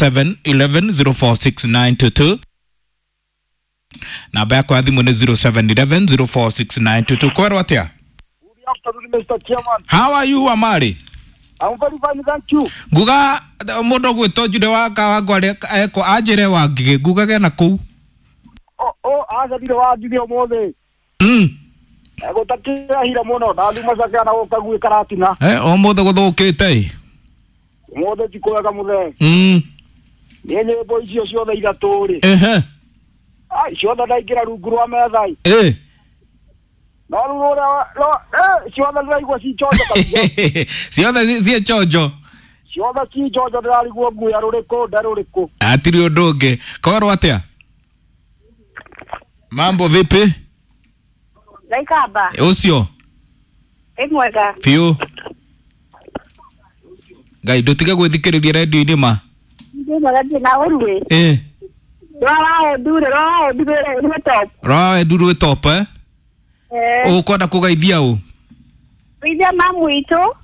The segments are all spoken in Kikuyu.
0711 046922. Namba yakwa ya thimũ nĩ 0711 046922. Kwerwo atĩa? Good afternoon, Mr. Chairman. How are you, Amari? I'm very fine, thank you. Nguga mũndũ ũgwĩtwo Jude wa Kawangware ekwo anjĩre Wangigĩ, ngugage na kũu. Oh, oh, aca ndirĩ Wangigĩ ũmũthĩ. Gũtakĩrahire mũno, ndathuma cakea na gũka gwĩ Karatina. Eh, ũmũthĩ gũthũkĩte ĩ. Ũmũthĩ ti kwega mũthee. Niĩ nyĩmbo icio ciothe ithatũ rĩ. Ehe. Ai, ciothe ndaingĩra rungu rwa metha ĩ. Eh. No rĩu rũrĩa no ciothe ndĩraigua ci njonjo kabisa. Ciothe ciĩ chonjo. Ciothe ci njonjo, ndĩrarigwo nguya rũrĩkũ nde rũrĩkũ. Hatirĩ ũndũ ũngĩ. Korwo atĩa? Mambo vipi? Ndaikamba. Ũcio. Ĩ mwega. Biũ. Ngai ndũtige gwĩthikĩrĩria redio-inĩ ma. Ndĩ mwega, ndirĩ na ũru ĩ. Eh. Rora ndure, rora ndure rwĩ top. Rora wendu rwĩ top eh? Eh. Ũkwenda kũgeithia ũ? Geithia mamu witũ.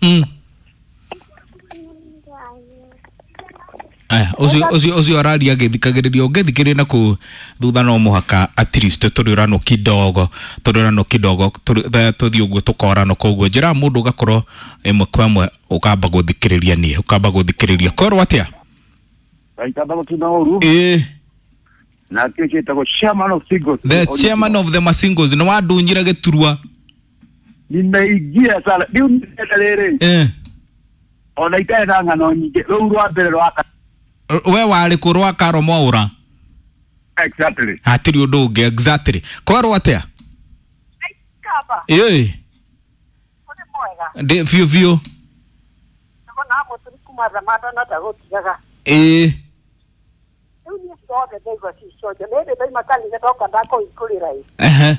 Aya, ũcio ũcio ũcio araria agĩthikagĩrĩria, ũngĩthikĩrĩria na kũu thutha no mũhaka at least tũrĩũranwo kidogo, tũrĩũranwo kidogo, tũthiĩ ũguo tũkoranwo. Koguo njĩra mũndũ ũgakorwo ĩmwe kwa ĩmwe ũkamba gũthikĩrĩria niĩ, ũkamba gũthikĩrĩria. Korwo atĩa? Ndaikamba gũtina ũru. Ĩĩ. Na kĩo gĩtagwo chairman of singles. The chairman of the masingles nĩ wandunyire gĩturwa. Nimeingia sana. Rĩu nĩndĩrenda rĩrĩ. Eh. Ona itarĩ na ng'ano nyingĩ. Rũu rwa mbere rwa We warĩ kũ rwa Karo Mwaũra? Exactly. Hatirĩ ũndũ ũngĩ, exactly. Korwo atĩa? Ndaikamba. Ĩĩ. Ũrĩ mwega. Ndĩ biũ biũ. Ndĩrona mũturi kuma Thamanda no ndagũtigaga. Ĩĩ. Rĩu niĩ ciothe ndaigua ci cionjo. Nĩ hĩndĩ ndaima kanitha ndoka ndakũhingũrĩra ĩ. Ehe.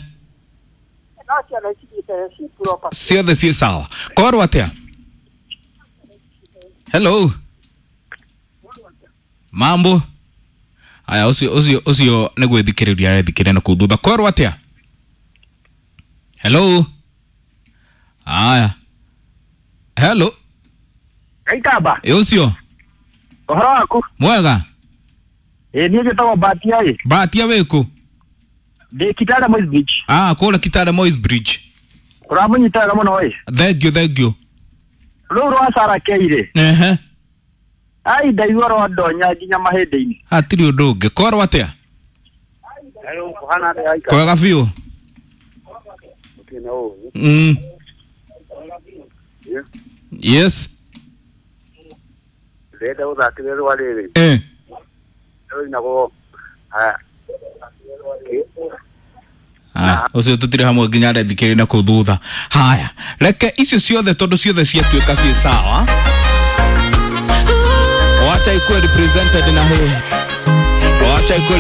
No ciothe cithiĩte ci proper. Ciothe ciĩ sawa. Korwo atĩa? Hello. Mambo. Aya, ũcio ũcio ũcio nĩ gwĩthikĩrĩria arethikĩrĩria na kũu thutha. Korwo atĩa? Hello. Aya. Hello. Ngaikamba. Ĩ ũcio. Ũhoro waku? Mwega. Ĩ niĩ njĩtagwo Mbatia ĩ. Mbatia wĩkũ? Ndĩ Kitale Moi's Bridge. Ah, kũrĩa Kitale Moi's Bridge. Ũramũnyita wega mũno ĩ. Thank you, thank you. Rũu rwa Sarah K rĩ. Ehe. Ai, ndaigua rwandonya nginya mahĩndĩ-inĩ. Hatirĩ ũndũ ũngĩ. Korwo atĩa? Hello, kũhana atĩa Aika? Kwega biũ. Gũtirĩ na ũru. Yes. Ndĩrenda gũthakĩra rwa rĩrĩ. Eh. Rũinagwo Ah, ũcio tũtirĩ hamwe nginya arethikĩrĩria na kũu thutha. Haya, reke icio ciothe tondũ ciothe ciatuĩka ciĩ sawa. Wacha ikuwe represented na hii. Wacha ikuwe.